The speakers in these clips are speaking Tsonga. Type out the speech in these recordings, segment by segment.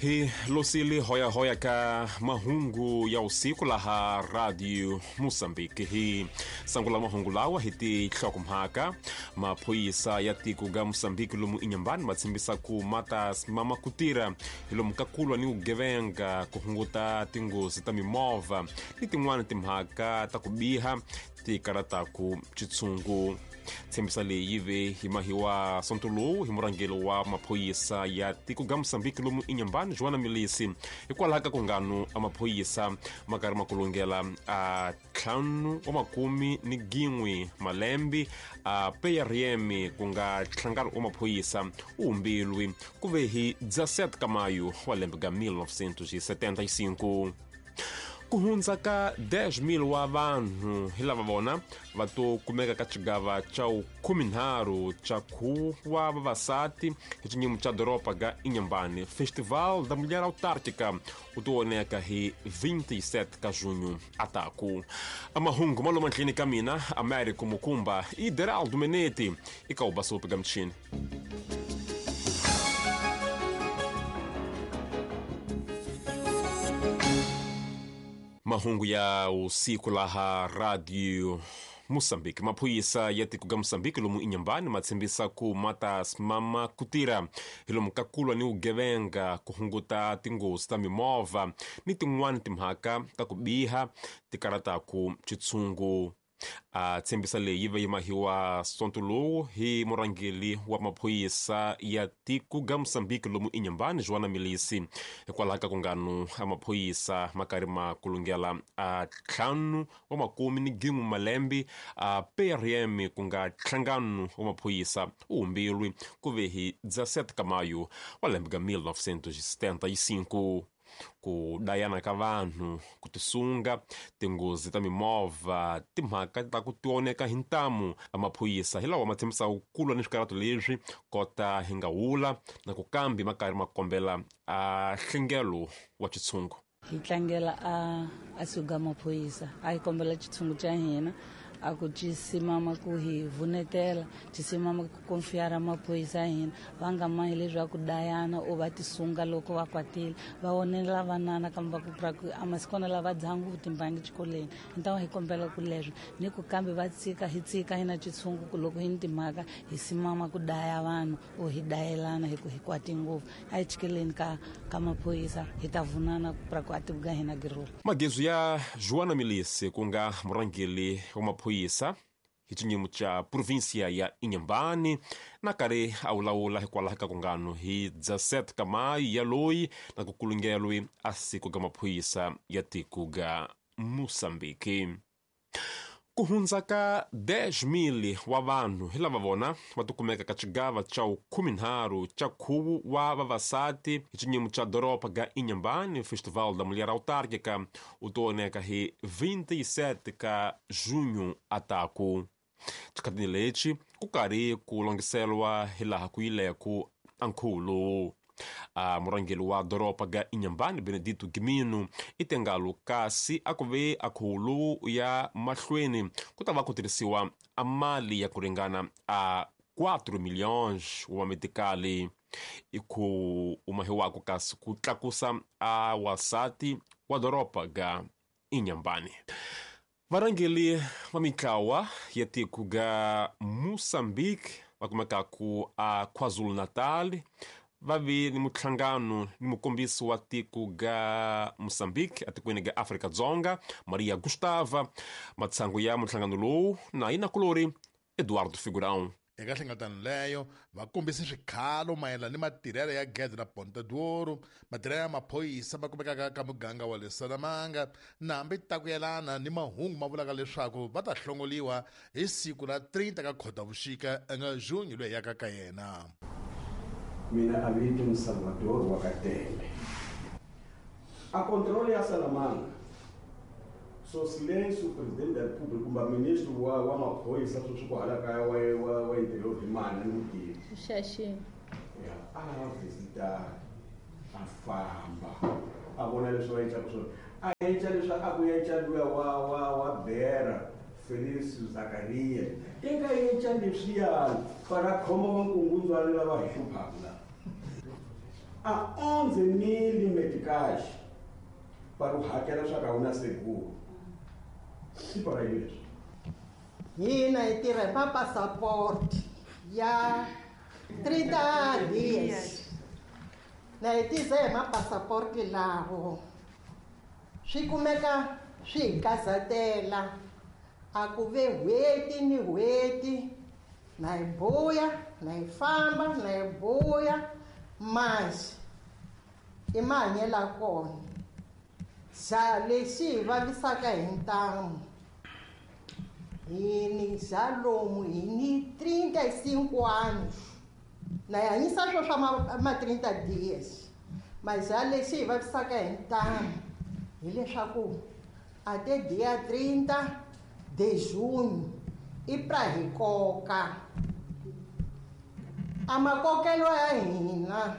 Hi losile hoyahoya ka mahungu ya usiku laha Radio Moçambique. Hi sangula mahungu lawa hi tinhlokomhaka. Maphorisa ya tiko ga Moçambique lomu Inhambane ma tshembisa ku ma ta simama ku tirha hi lomu ka kulwa ni vugevenga, ku hunguta tinghozi ta mimovha ni tin'wana timhaka ta ku biha ti karataku xitshungu. Tshembisa leyi yi ve hi mahiwa sonto lowu hi murhangeri wa maphorisa ya tiko ga Moçambique lomu Inhambane, Joana Milisi, hikwalaho ka kungano a maphorisa ma karhi ma kulungela a 51 malembe a PRM, ku nga nhlangano wa maphorisa wu humbilwi ku ve hi 17 ka mayu wa lembe ga 1975. Ku hundza ka 10,000 wa vanhu hi lava vona va to kumeka ka xigava xa 13 xa khuwa wa vavasati hi xinyimu xa doroba ga Inhambane. Festival da Mulher Autárquica wu to voneka hi 27 ka junho ataku. Amahungu ma lomu ndlini ka mina Américo Mukumba i Deraldo Menete i ka ubasopi ga mchini. Mahungu ya usiku laha Radio Moçambique. Maphorisa ya tiko ga Moçambique lomu Inhambane ma tshembisa ku ma ta simama ku tirha hi lomu ka kulwa ni vugevenga, ku hunguta tinghozi ta mimovha ni tin'wana timhaka ta ku biha ti karataku xitshungu. A tshembisa leyi yi ve yi mahiwa sonto lowu hi murhangeri wa maphorisa ya tiko ga Moçambique lomu Inhambane, Joana Milisi, hikwalaho ka kungano a maphorisa ma karhi ma kulungela a 51 malembe a PRM, ku nga nhlangano wa maphorisa wu humbilwi ku ve hi 17 ka mayu wa lembe ga 1975. Ku dayana ka vanhu, ku tisunga, tinghozi ta mimovha, timhaka ta ku tioneka hi ntamu a maphorisa hi lawa ma tshembisaka ku lwa ni swikarato leswi kota hi nga wula na ku kambi ma karhi ma kombela a nhlengelo wa xitshungu. Hi tlangela a suga maphorisa, a hi kombela xitshungu xa hina a ku ci simama ku hi vunetela, ci simama ku konfiyara maphorisa ya hina, va nga mahi leswaku dayana o va tisunga loko va kwatile, va onela vanana kambe va ku pra ku a masikwana lava dzaha ngopfu timbangi xikolweni. Hi ta hi kombela ku leswo ni ku kambe va tsika hi tsika hina xitshungu ku loko hi ni timhaka hi simama ku daya vanhu o hi dayelana hi ku hi kwati ngopfu. A hi chikeleni ka maphorisa hi ta vunana ku pra ku a tivuga hina girolo. Magezu ya Joana Milisi, ku nga murhangeri wa maphorisa hi xinyimu xa província ya Inhambane, na karhi a wulawula hikwalaho ka kungano hi 17 ka mayu ya loyi na ku kulungelwi a siku ga maphorisa ya tiko ga Moçambique. Ku hundza ka 10,000 wa vanhu hi lava vona va tikumeka ka xigava xa 13 xa khuvu wa vavasati hi xinyimu xa doroba ga Inhambane. Festival da Mulher Autárquica wu to voneka hi 27 ka junho ataku. Xikhatini lexi ku karhi ku longiseriwa hi laha ku yileku a nkhuvo lowu. A murhangeri wa doroba ga Inhambane, Benedito Gimino, i tengalo kasi a ku ve a khuvo lowu ya mahlweni ku ta va ku tirhisiwa a mali ya ku ringana a 4 milhões wa metikali i ku umahiwako kasi ku tlakusa a wasati wa doroba ga Inhambane. Varhangeri va mitlawa ya tiko ga Moçambique va kumekaku a KwaZulu-Natal va ve ni muhlangano ni mukombisi wa tiko ga Moçambique atikweni ga Afrika-Dzonga, Maria Gustava. Matshangu ya muhlangano lowu na yinakulori Eduardo Figurão. Eka hlengeletano leyo va kombise swikhalo mayelana ni matirhelo ya gede ra Ponta d'Ouro, matirhelo ya maphorisa ma kumekaka ka muganga wa le Salamanga, na hambi ta ku yelana ni mahungu ma vulaka leswaku va ta hlongoliwa hi siku ra 30 ka Khotavuxika nga Junho loyi yaka ka yena. Mina a vito ni Salvador wa Katende. A control ya Salamanga. So silêncio, presidente da República, kumbe ministro wa maphorisa sweswi ku hala kaya wa interior hi mani ni mutivi. Xaxini. Ya, a visita, a famba, a vona leswi va endlaka swona. A endla leswi a ku endla luya wa Bera, Felix Zakaria. I nga endla leswiyani para khoma vankungundzwana lava hi hluphaka la. A 11 000 meticais para o hakela swa ka wu na seguro. I para yini leswi? Hina hi tirha hi mapasaport ya 30 dias. Na hi tise hi mapasaport lawo. Swi kumeka swi hi kazatela. A ku ve n'hweti ni n'hweti na hi buya, na hi famba, na hi buya. Masi i mahanyelo ya kona. Xa lexi hi vavisaka hi ntamu hi ni xa lomu hi ni 35 anos na hi hanyisa swo swa ma 30 dias. Mas xa lexi hi vavisaka hi ntamu hileswaku a te dia 30 de junho i pra hi koka. A makokelo ya hina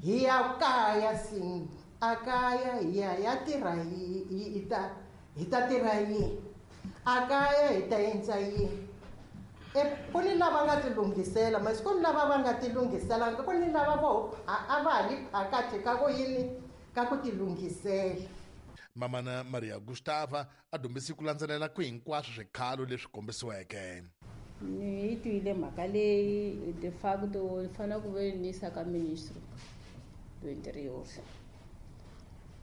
hi ya kaya sim a kaya hi ya ya tirha hi ta tirha yini a kaya hi ta endla yini. Ku ni lava nga tilunghisela masi ku ni lava va nga tilunghiselanga ku ni lava vo a va ha li phakathi ka ku yini ka ku tilunghisela. Mamana Maria Gustava a dumbisi ku landzelela ku hinkwaswo swikhalo leswi kombisiweke. Ni yi twile mhaka leyi de facto ni fanele ku ve ni yisa ka ministro do interior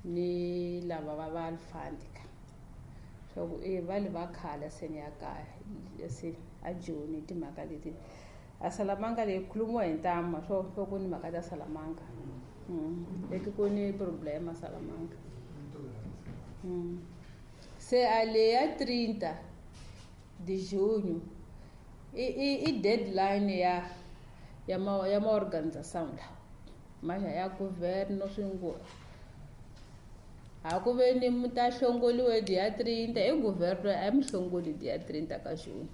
ni lava va va alfandika swa ku e va le va khala se ni ya kaya se a Joni timhaka leti a Salamanga leyi khulumiwa hi ntama swo ku ni mhaka ta Salamanga. Leti ku ni problema Salamanga. Se a le ya 30 de junho i deadline ya ma organização la mas ya governo swingo a ku ve ni mi ta hlongoliwe dia 30 i governo a mi hlongoli dia 30 ka junho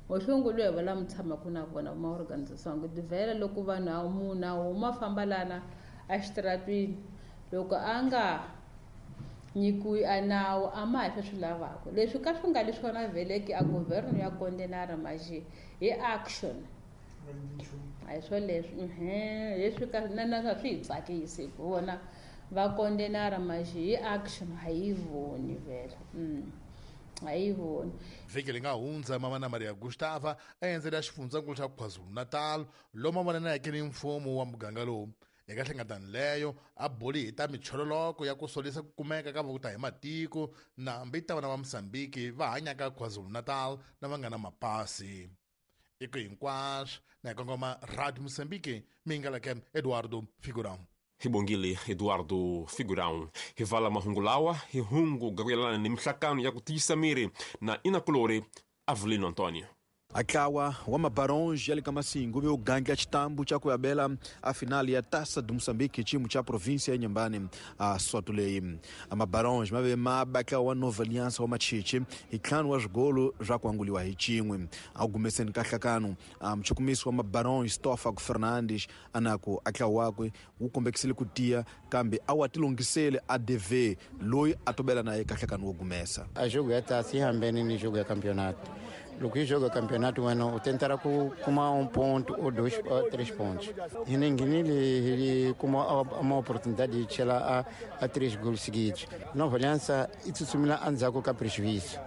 mo hlongoliwe va lava mi tshamaka na vona ma organização ku vhela loko vanhu a munhu a huma famba lana exitaratwini loko a nga nyikiwi a nawu a ma ha swi lavaka leswi ka swi nga li swona vheleki a governo ya kondenara maje hi action a hi swo leswi leswi ka na swi hi tsakisi ku vona va kondenara maje hi action a yi voni vhela. A yi voni. Vhiki leri nga hundza Mamana Maria Gustava a endzela xifundzankulu xa KwaZulu-Natal lomu a vonaneke ni mfumo wa muganga lowu. Eka hlengeletano leyo a buli hi ta michololoko ya ku solisa ku kumeka ka vuta hi matiko na hambi ta vana va Mozambique va hanyaka KwaZulu-Natal na va nga na mapasi. I ku hinkwaswo na hi kongoma Radio Mozambique mi nga leke Eduardo Figurão. Hi bongile Eduardo Figurão. Hi vala mahungu lawa hi hungu ga ku yelana ni mihlakano ya ku tiyisa miri na inakulori Avelino Antonio. Atlawa wa Mabarões ya le ka Masingo ve ugandla xitambu xa ku yabela a finali ya Taça de Moçambique xiyimo xa província ya Inhambane a soto leyi. A Mabarões ma ve ma batla wa Nova Aliança wa Machichi hi ntlhanu wa swigolo swa ku anguliwa hi xin'we. A ku gumeseni ka nhlakano a muchukumisi wa Mabarões Stofago Fernandes anaku atlawa wakwe wu kombekisile ku tiya kambe a wa tilunghisele a DV loyi a tobela na ye ka nhlakano wo gumesa. A jogo ya taça ihambene ni jogo ya campeonato. Loko hi joga campeonato wena u tentara ku kuma ponto ou 2 ou 3 pontos. Hi nghenile hi kuma uma oportunidade de chela a 3 gols seguidos. Nova Aliança i tsutsumela endzhaku ka prejuízo.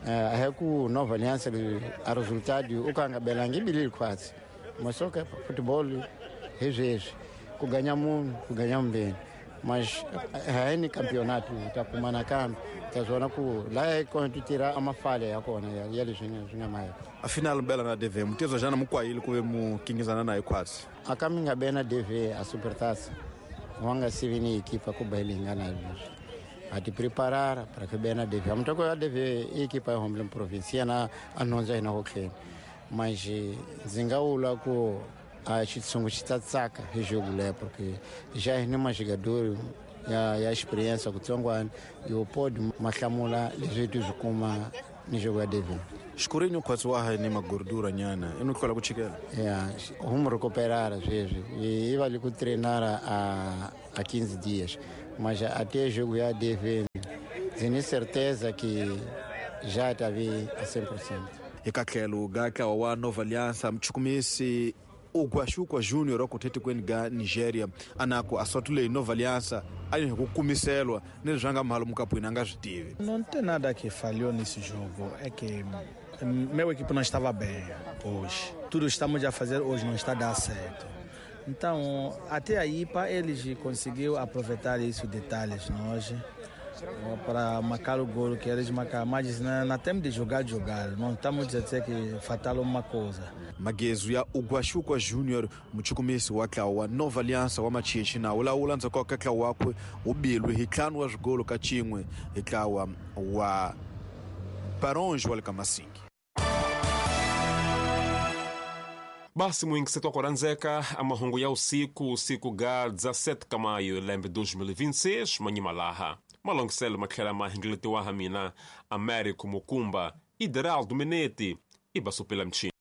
A hi ku Nova Aliança a resultado o ka nga belangi bilili khwatsi. Mas só que futebol hi sweswi ku ganya munhu ku ganya mbeni. Mas hayi ni campeonato ta kuma nakambe ta swona ku laha kona tu tirha a mafala ya kona ya leswi swi nga mahela. A final bela na DV mutezwa jana mukwayile ku ve mukingizana na hikhwatsi. A ka mi nga be na DV a Supertaça wa nga sivi ni ekipa ku ba hi nga na leswi a ti preparara para que be na DV mutoko ya DV i ekipa ya Homeland Province yena a nhundzu hina ku tlhela mas ndzi nga vula ku a xitshungu xi ta tsaka hi jogo leyo porque já hi ni majogador ya experiência kutsongwana yo pode mahlamula leswi ti swi kuma ni jogo ya DV. Xikurinyo khwatsi wa ha ni magordura nyana i no hlwela ku chikela. Ya hum recuperara sweswi i va li ku treinara a 15 dias mas até jogo ya DV ndzi ni certeza que já ta vi a 100%. Eka tlhelo ga ntlawa wa Nova Aliança muchukumisi Ugwaxukwa Junior wa ku thetikweni ga Nigeria. Anako a swatu leyi Nova Aliança a yi hi ku kumiselwa ni leswi a nga mhalo mukapwini a nga swi tivi. Não tem nada que falhou nesse jogo, é que meu equipe não estava bem hoje. Tudo que estamos a fazer hoje não está a dar certo. Então, até aí, para eles conseguiu aproveitar isso detalhes nós para marcar o gol que eles marcaram, mas não temos de jogar. Não estamos a dizer que fatal uma coisa. Magezu ya Ugwaxukwa Junior muchukumisi wa ntlawa wa Nova Aliança wa Machichi na wu lawula ndzhaku ka ntlawa wakwe wu bilwe hi 5 wa swigolo ka 1 hi ntlawa wa Baronge wa le ka Masingi. Basi muingisetwa kuranzeka amahungu ya usiku usiku ga 17 ka maio lembe 2026 manyimalaha malongiselo matlhela mahingeletiwa ha mina Américo Mukumba Ideraldo Menete e Basupela Mchini.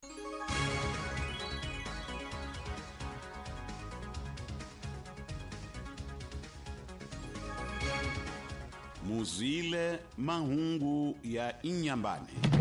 Muzile mahungu ya Inyambane.